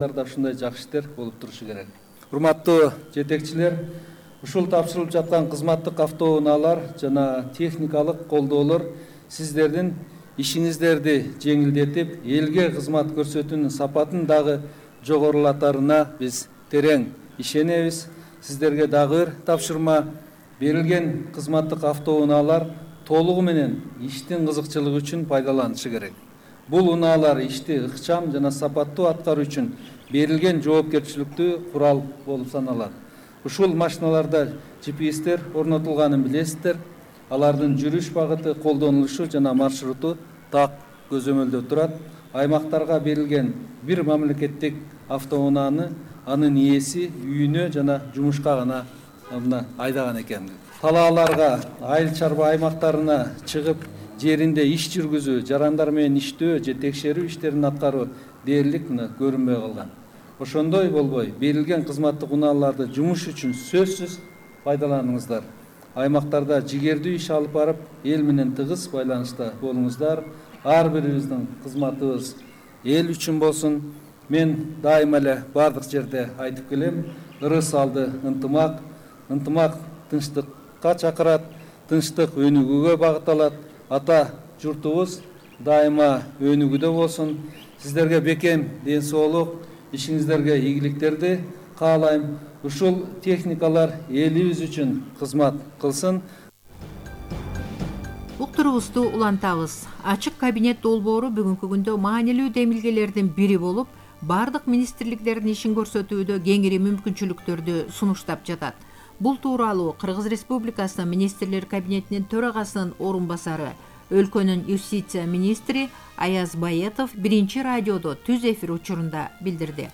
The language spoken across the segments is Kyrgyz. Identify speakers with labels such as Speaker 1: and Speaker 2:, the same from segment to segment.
Speaker 1: да ушундай жакшы иштер болуп турушу керек. Урматтуу жетекчилер, ушул тапшырылып жаткан кызматтык автоунаалар жана техникалык колдоолор сиздердин ишиңиздерди жеңилдетип, элге кызмат көрсөтүүнүн сапатын дагы жогорулатарына биз терең ишенебиз. Сиздерге дагы бир тапшырма: берилген кызматтык автоунаалар толугу менен иштин кызыкчылыгы үчүн пайдаланышы керек. Бул унаалар ишти ыкчам жана сапаттуу аткаруу үчүн берилген жоопкерчиликтүү курал болуп саналат. Ушул машиналарда GPS-тер орнотулганын билесиздер. Алардын жүрүш багыты, колдонулушу жана маршруту так көзөмөлдө турат. Аймактарга берилген бир мамлекеттик автоунааны анын ээси үйүнө жана жумушка гана айдаган экен. Талааларга, айыл чарба аймактарына чыгып, жеринде иш жүргүзүү, жарандар менен иштөө же текшерүү иштерин аткаруу дээрлик көрүнбөй калган. Ошондой болбой, берилген кызматтык унааларды жумуш үчүн сөзсүз пайдаланыңыздар. Аймактарда жигердүү иш алып барып, эл менен тыгыз байланышта болуңуздар. Ар бирибиздин кызматыбыз эл үчүн болсун. Мен дайыма эле бардык жерде айтып келем: ырыс алды ынтымак, ынтымак тынчтыкка чакырат, тынчтык өнүгүүгө багытталат. Ата журтубуз дайыма өнүгүүдө болсун. Сиздерге бекем ден соолук, ишиңиздерге ийгиликтерди каалайм. Ушул техникалар элибиз үчүн кызмат кылсын.
Speaker 2: Уктурубузду улантабыз. Ачык кабинет долбоору бүгүнкү күндө маанилүү демилгелердин бири болуп, бардык министрликтердин ишин көрсөтүүдө кеңири мүмкүнчүлүктөрдү сунуштап жатат. Бул тууралуу Кыргыз Республикасынын министрлер кабинетинин төрагасынын орун басары, өлкөнүн юстиция министри Аяз Баетов биринчи радиодо түз эфир учурунда билдирди.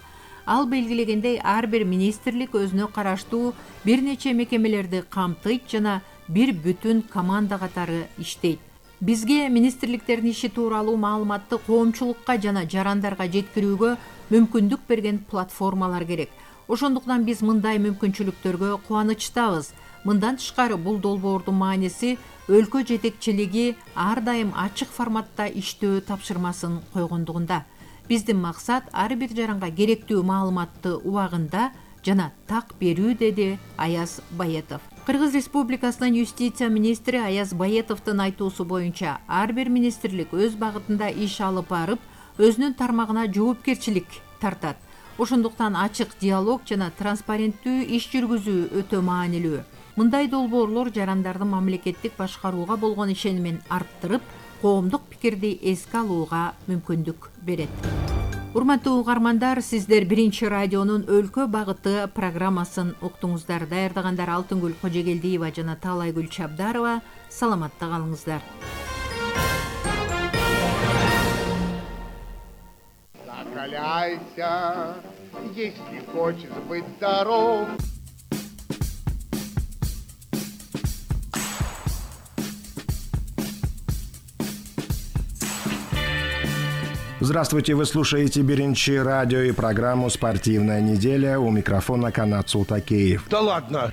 Speaker 2: Ал белгилегендей, ар бир министрлик өзүнө караштуу бир нече мекемелерди камтыйт жана бир бүтүн команда катары иштейт. Бизге министрликтердин иши тууралуу маалыматты коомчулукка жана жарандарга жеткирүүгө мүмкүндүк берген платформалар керек. Ошондуктан биз мындай мүмкүнчүлүктөргө кубанычтабыз. Мындан тышкары, бул долбоордун мааниси өлкө жетекчилиги ар дайым ачык форматта иштөө тапшырмасын койгондугунда. Биздин максат ар бир жаранга керектүү маалыматты убагында жана так берүү, деди Аяз Баетов. Кыргыз Республикасынын юстиция министри Аяз Баетовдун айтуусу боюнча, ар бир министрлик өз багытында иш алып барып, өзүнүн тармагына жоопкерчилик тартат. Ошондуктан ачык диалог жана транспаrenттүү иш жүргүзүү өтө маанилүү. Мындай долбоорлор жарандардын мамлекеттик башкарууга болгон ишенимин арттырып, коомдук пикирди эске алууга мүмкүндүк берет. Урматтуу угармандар, сиздер биринчи радионун өлкө багыты программасын уктуңуздар. Даярдагандар Алтынгүл Кожегелдиева жана Таалайгүл Чабдарова. Саламатта калыңыздар.
Speaker 3: Закаляйся, если хочешь быть здоров.
Speaker 4: Здравствуйте, вы слушаете Биринчи радио и программу «Спортивная неделя». У микрофона Канат Султакеев.
Speaker 3: Да ладно!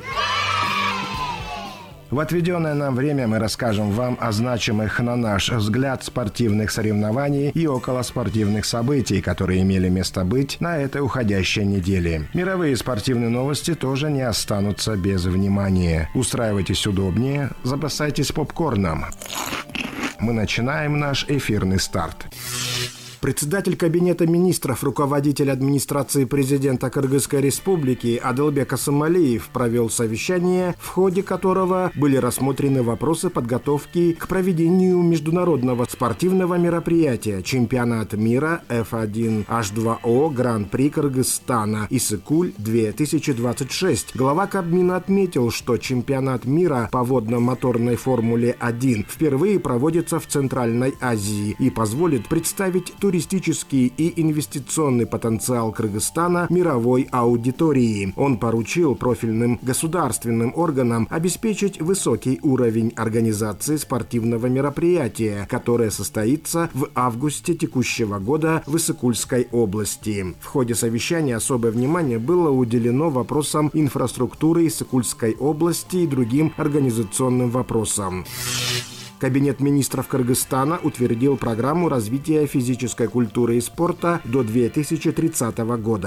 Speaker 4: В отведенное нам время мы расскажем вам о значимых, на наш взгляд, спортивных соревнований и околоспортивных событий, которые имели место быть на этой уходящей неделе. Мировые спортивные новости тоже не останутся без внимания. Устраивайтесь удобнее, запасайтесь попкорном. Мы начинаем наш эфирный старт. Председатель Кабинета министров, руководитель администрации президента Кыргызской республики Адылбек Асымалиев провел совещание, в ходе которого были рассмотрены вопросы подготовки к проведению международного спортивного мероприятия «Чемпионат мира F1H2O Гран-при Кыргызстана Иссык-Куль-2026». Глава Кабмина отметил, что чемпионат мира по водно-моторной Формуле-1 впервые проводится в Центральной Азии и позволит представить туристический и инвестиционный потенциал Кыргызстана мировой аудитории. Он поручил профильным государственным органам обеспечить высокий уровень организации спортивного мероприятия, которое состоится в августе текущего года в Иссык-Кульской области. В ходе совещания особое внимание было уделено вопросам инфраструктуры Иссык-Кульской области и другим организационным вопросам. Кабинет министров Кыргызстана утвердил программу развития физической культуры и спорта до 2030 года.